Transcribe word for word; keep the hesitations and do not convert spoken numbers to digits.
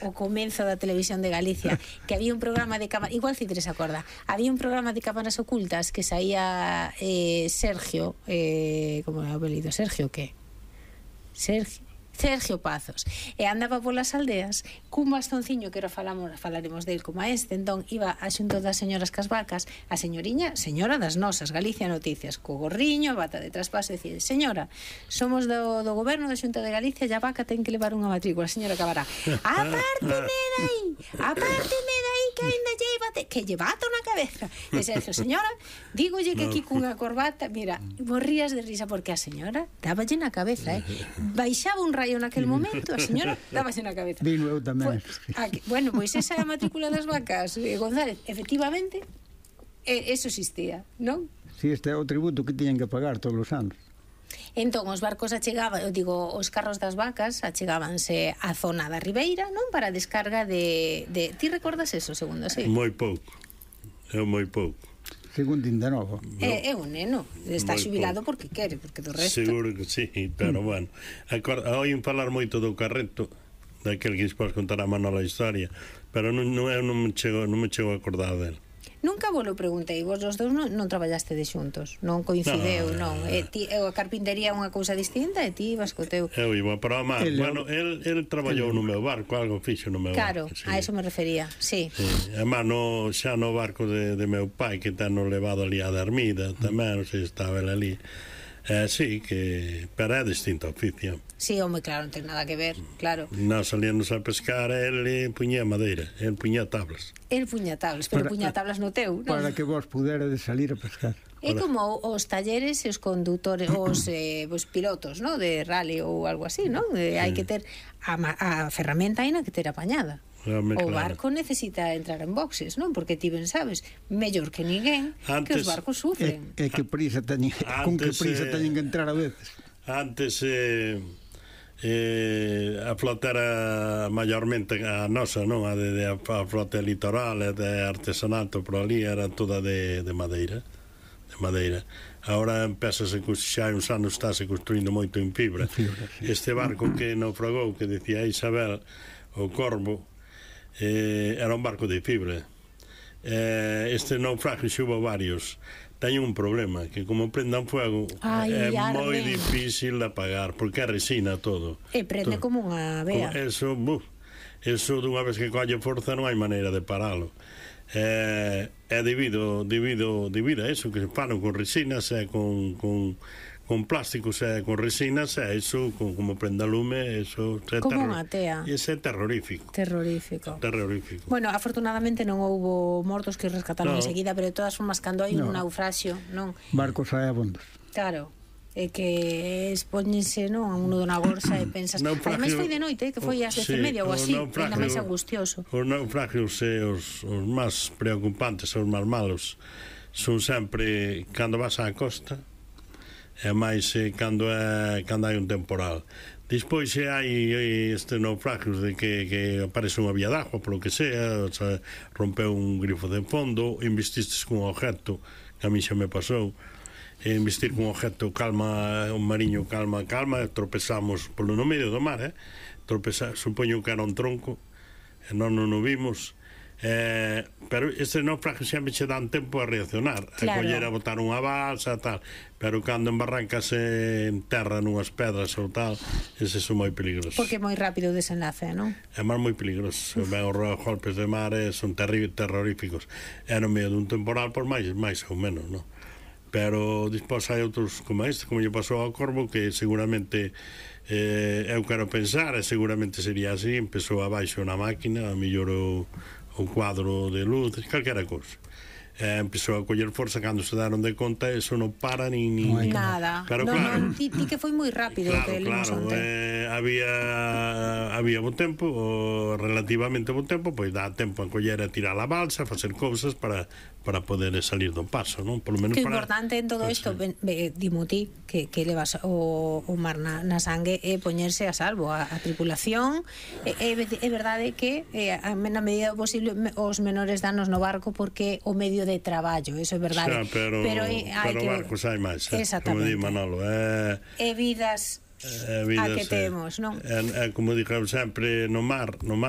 o comenzo da televisión de Galicia, que había un programa de cámaras, igual Cidre se acorda, había un programa de cámaras ocultas que saía eh, Sergio, eh, como é o apelido, Sergio que? Sergio Sergio Pazos, e andaba polas aldeas cun bastonciño, que era falamos, falaremos del como a este, entón iba a xunto das señoras cas vacas, a señoriña, señora das nosas, Galicia Noticias, co gorriño, bata de traspaso, e dicir, señora, somos do, do goberno da Xunta de Galicia, e a vaca ten que levar unha matrícula, a señora acabará, apárteme dai, apárteme dai, que ainda llevate, que llevato na cabeza, e Sergio, señora, dígolle que aquí cunha corbata, mira, morrías de risa, porque a señora dáballe na cabeza, eh, baixaba un rayo naquele momento, a señora dábase na cabeza. Vino eu tamén. Aquí, bueno, pois esa é a matrícula das vacas, eh, González, efectivamente, eh, eso existía, non? Si, este é o tributo que tiñen que pagar todos os anos. Entón, os barcos achegaban, eu digo, os carros das vacas achegábanse á zona da Ribeira, non? Para a descarga de... de... Ti recordas eso, segundo, sí? Moi pouco, é moi pouco. Segundo ainda novo. É, é un neno, está xubilado porque quere, porque do resto... Seguro que sí, pero bueno, oín falar moito do carreto, daquel que despois contará Manolo a historia, pero non, non, eu non me chego, non me chego a acordar dele. Nunca vos lo preguntei, vos os dous non, non traballaste de xuntos, non coincideu, no, non. E ti, e a carpintería é unha cousa distinta e ti vas co teu... Eu iba, pero a mar, el, bueno, el, el traballou el, no meu barco, algo fixo no meu claro, barco. Claro, sí. A eso me refería, sí. sí. A mar, no, xa no barco de, de meu pai, que ten no levado ali a Dermida, tamén, non sei se estaba el ali. Eh, sí, que pero é distinto oficio. Sí, home, claro, non ten nada que ver, claro. Nós salíamos a pescar, el puñía madeira, el puñía tablas. El puñía tablas, pero para, puñía tablas no teu, non? Para que vos puderades salir a pescar. É como os talleres e os condutores, os, eh, os pilotos, ¿no? De rally ou algo así, non? Eh, hai que ter a, a ferramenta aí na que ter apañada. Realmente, o barco claro. Necesita entrar en boxes, non? Porque ti ben sabes, mellor que ninguén, antes, que os barcos sufren. É, é que prisa teñen, antes, con que prisa teñen que entrar a veces. Antes eh, eh, a flota era maiormente a nosa, non? A, de, de, a flota litoral e de artesanato, por ali era toda de, de madeira. De madeira. Ahora empezase, xa hai uns anos estáse construindo moito en fibra. fibra sí. Este barco que naufragou, que decía Isabel, o Corvo, Eh, era un barco de fibra. Eh, este naufragio xubo varios. Teño un problema, que como prendan fuego Ay, é moi difícil de apagar, porque é resina todo. E prende todo. Como unha vea. Eso, buf, eso dunha vez que colle forza non hai maneira de paralo. Eh, é debido, debido, debido a eso que se paran con resinas e con... con con plásticos e con resinas, e iso, con, como prenda lume, eso é como unha tea. Ese é terrorífico. Terrorífico. Terrorífico. Bueno, afortunadamente non houbo mortos que rescataron no. enseguida, pero de todas formas, cando hai no. un naufraxio, non? Barcos hai abondos. Claro. É que expóñense, non, a un nudo na gorsa e pensas... Ademais foi de noite, que foi ás dez e media ou así, ainda máis angustioso. Os naufragios e os, os máis preocupantes, os máis malos, son sempre cando vas á costa, e máis eh, cando, é, cando hai un temporal. Despois se hai este naufragios de que, que aparece unha vía d'agua, polo que sea, o sea, rompeu un grifo de fondo, investistes cun objeto, que a mí xa me pasou, investir cun objeto, calma, un mariño, calma, calma, tropezamos polo no medio do mar, eh? Tropezar, supoño que era un tronco, e non non o vimos. Eh, pero este naufragio sempre che dan tempo a reaccionar, claro. A coller a botar unha balsa tal, pero cando embarrancase en terra nunhas pedras ou tal, eses son moi peligrosos, porque é moi rápido o desenlace, non? É máis moi peligroso. Ben, os golpes de mar son terríveis, terroríficos, é no medio dun temporal por máis, máis ou menos, non? Pero despois hai outros como este, como lle pasou ao Corvo, que seguramente eh, eu quero pensar, e seguramente sería así, empezou abaixo na máquina, a mellor o un cuadro de luz, calquera cousa. Eh, empezou a coller forza, cando se daron de conta, eso non para ni... ni no nada. Pero no, claro, no, ti, ti que foi moi rápido, claro, que claro, eh, había había bo tempo, o relativamente bo tempo, pois dá tempo a coller a tirar a balsa, facer cousas para para poder salir do paso, non? Por lo menos que para... importante en todo isto, pues, dimo ti, que, que levas o, o mar na, na sangue, é poñerse a salvo a, a tripulación. É, é, é verdade que é, na medida posible os menores danos no barco, porque o medio de traballo, eso é verdade. Xa, pero, pero, hai pero que... barcos hai máis, eh? Como di Manolo, é... E vidas... Eh, vidas, a que temos, non? É, é, como dixo sempre, no mar, no mar